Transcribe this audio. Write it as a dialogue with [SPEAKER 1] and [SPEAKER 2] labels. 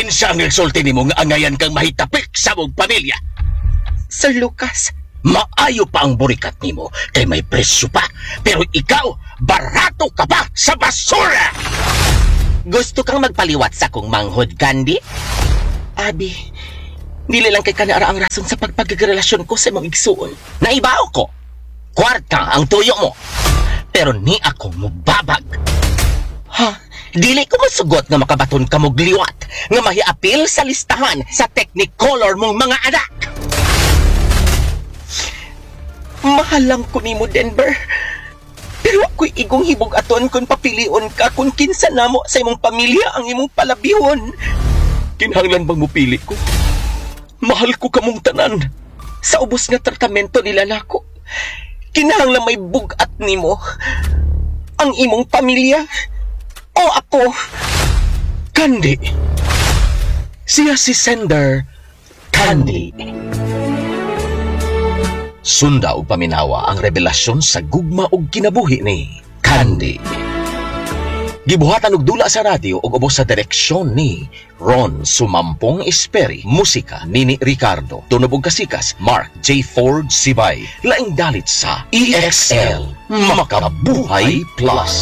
[SPEAKER 1] Kinsa ang nagsulti nimo nga angayan kang mahitapik sa mong pamilya?
[SPEAKER 2] Sir Lucas,
[SPEAKER 1] Maayo pa ang burikat nimo kay may presyo pa. Pero ikaw, barato ka pa sa basura!
[SPEAKER 2] Gusto kang magpaliwat sa akong manghod, Candy? Abi, dili lang kay kanara ang rason sa pagpagrelasyon ko sa imong igsuon.
[SPEAKER 1] Naibaw ko. Kwarta ang tuyo mo. Pero ni ako mubabag.
[SPEAKER 2] Ha?
[SPEAKER 1] Dili ko masugot nga makabaton ka mog liwat nga mahiapil sa listahan sa Technicolor mong mga anak.
[SPEAKER 2] Mahal lang ko nimo, Denver. Pero ako'y igong hibog-aton kung papilion ka kung kinsa namo sa imong pamilya ang imong palabihon.
[SPEAKER 1] Kinahanglan bang mupili ko? Mahal ko kamong tanan.
[SPEAKER 2] Sa ubos nga tratamento nila nako, kinahanglan may bugat nimo ang imong pamilya o ako.
[SPEAKER 1] Candy. Siya si Sender Candy. Sunda og paminawa ang revelasyon sa gugma og kinabuhi ni Candy. Gibuhatan og dula sa radyo og ubos sa direksyon ni Ron Sumampong Esperi, musika Nini Ricardo, tunob og kasikas Mark J. Ford Sibay. Laing dalit sa EXL Makabuhay Plus.